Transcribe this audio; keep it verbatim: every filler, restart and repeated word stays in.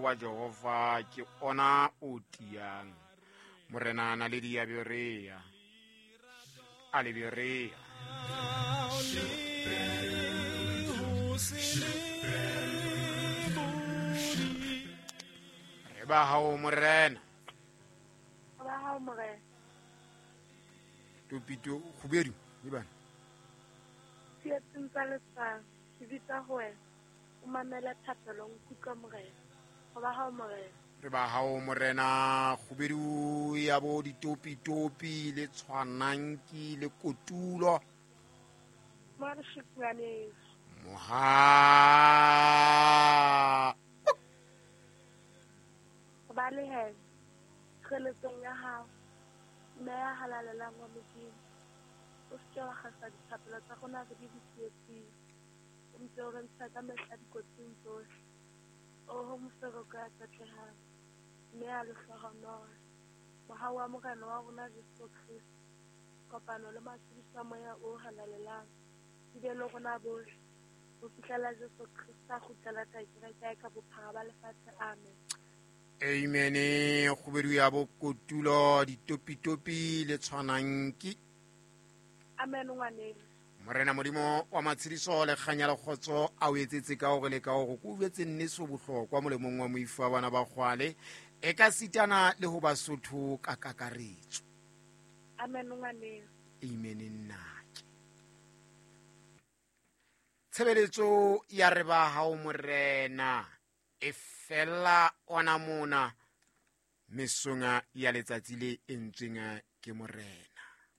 Wa Jehova ke ona o tiyang. Morena Naledi ya Berea. A le Berea. Re ba hao Morena. Ba hao Morena. Topito kgubedu le bana. Tsietsing tsa letswalo, ke bitsa ho wena. O mamele thapelo, nkutlwe Morena. Re ba hao Morena. Re ba hao Morena, kgubedu ya bo ditopitopi le tshwananki le kotulo. Moha. Ba le he. Tshireletsong ya hao. Mme ya halalelang wa Modimo. O se ke wa kgasa dithapelo tsa rona re di ditsietsing. O ntse o re ntsha ka mehla dikotsing tsohle. Oho mofereko ya tshetlehang, mme ya lehlohonolo. Mohau wa Morena wa rona Jesu Kreste, kopano le matshediso a Moya o halalelang, di be le rona bohle, ho fihlela Jesu Kreste a kgutlela tla kereke ya ka bophara ba lefatshe. Amen. Amen. Kgubedu ya bo kotulo ditopitopi le tshwanang ke. Amen ngwaneng. Morena Modimo wa matshediso le kganya le kgotso a o etsetse ka hore le ka hore ko jwetse nneso bohlokwa molemong wa moifo wa bana ba kgwale e ka sitana le ho Basotho ka kakaretso. Amen ngwaneng. Amen nnake. Tshebeletso ya re ba hao Morena e fella ona mona mesonga ya letsatsi le entsweng ke Morena.